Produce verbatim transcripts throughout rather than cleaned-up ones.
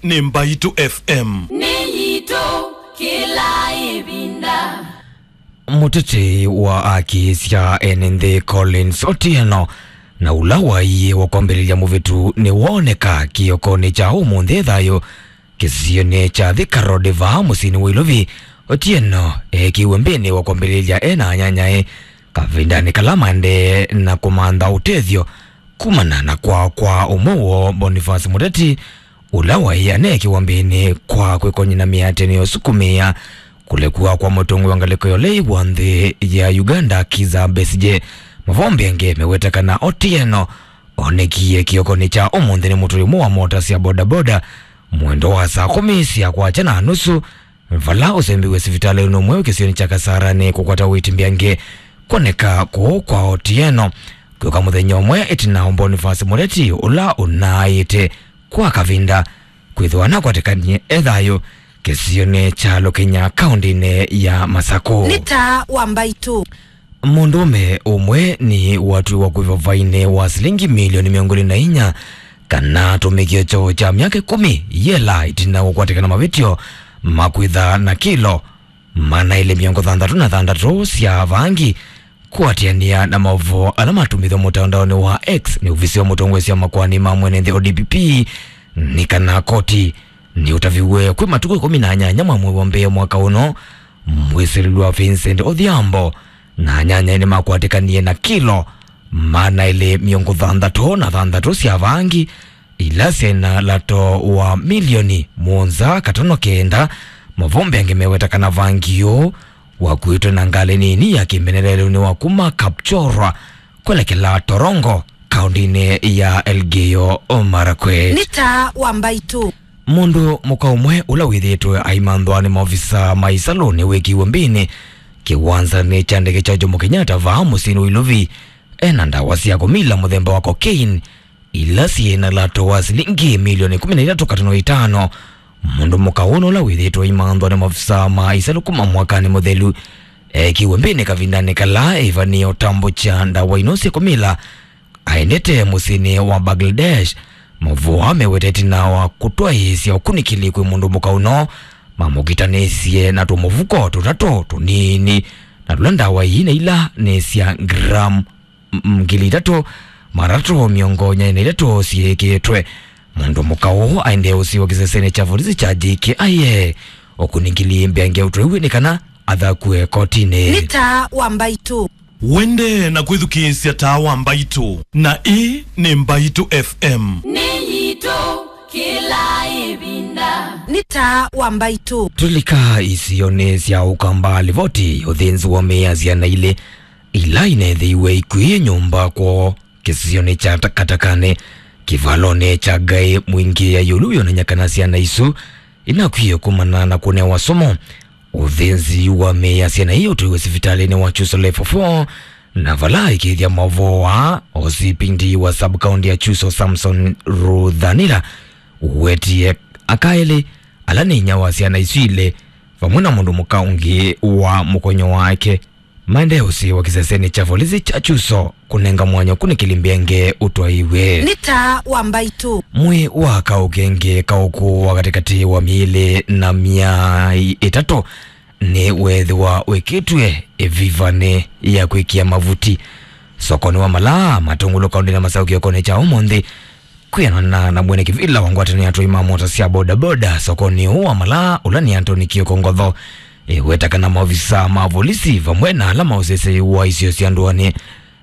nĩ Mbaitũ F M. Nĩ yitũ kĩla ĩvinda. Mũteti wa haki sya ene nthĩ Collins Otieno, na ũla waiwe kwambĩlĩlya mũvĩtu, nĩwooneka kĩokonĩ kya ũmũnthĩ thayũ kĩsionĩ kya Thika Road vaa mũsyĩnĩ wa Ilovi. Otieno eekĩiwe mbĩnĩ wa kwambĩlĩlya e na anyanyae kavindanĩ kala maendee na kũmantha ũtethyo kumana na kwaa kwa ũmwe woo, Boniface Mũteti, ũla waĩ aneekiwa mbĩnĩ kwa kwĩkony'a na mĩatĩanĩo ĩsukumĩa kũlekw'a kwa mũtongoi wa ngalĩko ya ũlei wa nthĩ ya Uganda, Kizza Besigye. Mavombi angĩ meweta kana Otieno onekie kĩokonĩ kya ũmũnthĩ nĩ mũtũi ũmwe wa mota sya bodaboda mwendo wa saa kũmi sya kwakya na nusu, vala ũsembiwe sivitalĩnĩ ũmwe kĩsionĩ kya Kasarani kũkwata ũiiti mbeange. Kwoneka kũũ kwa Otieno kwĩũka mũthenya ũmwe ĩtina wa Boniface Mũteti, ũla ũnaaĩte kwa kavinda kwĩthĩwa nakwatĩkanie e thayũ kĩsionĩ kya Lũkĩnya, kaũndĩnĩ ya Masakũ. Nĩ taa wa Mbaitũ. Mũndũũme ũmwe nĩ watwiwa kũĩva vainĩ wa silingi milioni mĩongo ĩlĩ na inya kana atũmĩkie kyoo kya myaka ĩkũmi yela ĩtina wa kũkwatĩkana mavĩtyo ma kwĩtha na kilo maana elĩ mĩongo thanthatũ na thanthatũ sya vangi. Kũatĩanĩa na maũvoo ala matũmĩtwe mũtandaonĩ wa X nĩ ovisi wa mũtongoi wa makoani ma mwene nthĩ, O D P P, nĩ kana koti nĩũtaviw'e kwĩ matukũ ĩkũmi na nyanya mwa mwei wa mbee mwaka ũno, mwĩsĩlĩlwa Vincent Odhiambo na anyanyae nĩmakwatĩkanie na kilo maana elĩ mĩongo thanthatũ na thanthatũ sya vangi ila syĩ na lato wa milioni mũonza katono kenda. Mavombi angĩ meweta kana vangi ũũ wakuĩtwe na ngalĩ nini ya kĩmbenelelũnĩ wa kuma Kapchorwa kwelekela Torongo, kaũndĩnĩ ya Elgeyo Marakwet. Nĩ taa wa Mbaitũ. Mũndũ mũka ũmwe ũla wĩthĩĩtwe aimanthwa nĩ maovisa ma isalũ nĩwĩkiwe mbĩnĩ kĩwanzanĩ kya ndege kya Jomo Kenyatta vaa mũsyĩnĩ wa Ilovi ena ndawa sya kũmila mũthemba wa cocaine ila syĩ na lato wa silingi milioni ĩkũmi na itatũ katono itano. Mũndũ mũka ũũ nũla wĩthĩĩtwe aimanthwa nĩ maovisa ma isalũ kuma mwakanĩ mũthelu ekiwe mbĩnĩ kavindanĩ kala ĩvanĩe ũtambũkya ndawa ino sya kũmila aendete mũsyĩnĩ wa Bangladesh. Maũvoo aa meweta ĩtina wa kũtwaĩĩsya ũkunĩkĩli kwĩ mũndũ mũka ũno, mamũkitanĩsye na tũmũvuko tũtatũ tũnini, na tũla ndawa ii na ila nĩ sya gram m-, ngili itatũ, maana atatũ mĩongo ĩna na itatũ syĩkĩtwe. Mũndũ mũka ũũ aendee ũsiwa kĩsesenĩ kya volisi kya J K I A, ũkunĩkĩli mbeange ũtwaiwe nĩ kana athakũe kotinĩ. Nĩ taa wa Mbaitũ. Wendee na kwĩthukĩĩsya taa wa Mbaitũ, na ĩĩ nĩ Mbaitũ F M. Nĩ yitũ kĩla ĩvinda. Nĩ taa wa Mbaitũ. Tũlika isionĩ sya Ũkamba, livoti ya ũthĩnzi wa mĩĩ ya syana ilĩ ila ineethĩiwe ikw'ĩĩe nyũmba kwoo kĩsionĩ kya Takatakanĩ kĩvalonĩ kya Ngaĩ Mwingĩ ya ĩũlũ yonany'a kana syana isu inakwie kumana na kũnewa sumu. Ũthĩnzi wa mĩĩ ya syana ii ũtwĩwe sivitalĩnĩ wa Chuso Level four, na vala aikĩĩthya maũvoo aa, O C P D wa sub-county ya Chuso, Samson Ruthanira, wetie aka elĩ ala nĩ inya wa syana isu ilĩ vamwe na mũndũ mũka ũngĩ wa mũkonyo wake maendee ũsiĩwa kĩsesenĩ kya volisi kya Chuso kũnenga mwanya ũkunĩkĩli mbeange ũtwaiwe. Nĩ taa wa Mbaitũ. Mwĩĩ wa kaũ kengĩ kaũkũ wa katĩkatĩ wa mĩĩlĩ na myaĩ ĩtatũ nĩweethĩwa wĩkĩtw'e ĩvivanĩ ya kwĩkĩa mavuti sokonĩ wa Malaa Matũngũlũ, kaũndĩnĩ ya Masaũ kĩokonĩ kya ũmũnthĩ. Kwĩanana na mwene kĩvĩla wa ngwatanĩo ya atwai ma mota sya bodaboda sokonĩ ũũ wa Malaa, ũla nĩ Anthony Kioko Ngotho, ĩweta kana maovisa ma volisi vamwe na ala ma ũseseĩ wa isio sya ndũanĩ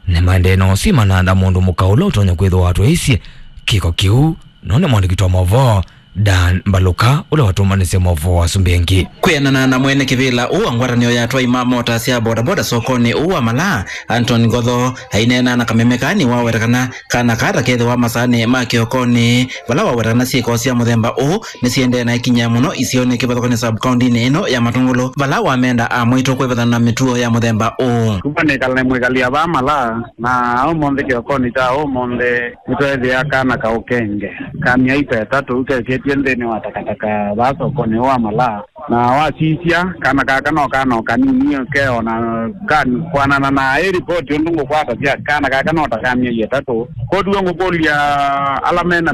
nĩmaendee na ũsimana na mũndũ mũka ũla ũtonya kwĩthĩwa atwaĩisye kĩko kĩu. No nĩ mwandĩki wa maũvoo Dan Mbaluka ũla watũmanĩsye maũvoo asu mbeange. Kwĩanana na mwene kĩvĩla ũũ wa ngwatanĩo ya atwai ma mota sya bodaboda sokonĩ ũũ wa Malaa, Anthony Ngotho, aineena na kameme kaa nĩwaweta kana kana kaa ta kethĩwa masaanĩ ma kĩokonĩ, vala waweta kana syĩko sya mũthemba ũũ nĩsiendee na ĩkinyĩa mũno isionĩ kĩvathũkany'o sub-county-inĩ ĩno ya Matũngũlũ, vala wamenda amwĩtũ kwĩvathana na mĩtuo ya mũthemba ũũ. Kuma nĩkala nĩ mwĩkalĩa vaa Malaa, na ũmũnthĩ kĩokonĩ kya ũmũnthĩ nĩtweethĩa kana kaũ kengĩ ka myaĩ ta ĩtatũ kekĩtw'e nthĩnĩ wa takataka vaa sokonĩ ũũ wa Malaa. Na wasisya, kana kaka no kana o kanini ke o na kan-, kwanana na ĩ ripoti ũndũ ngũkwatasya, kana kaka no ta ka myei ĩtatũ. Kwoou ngũkũlya ala me na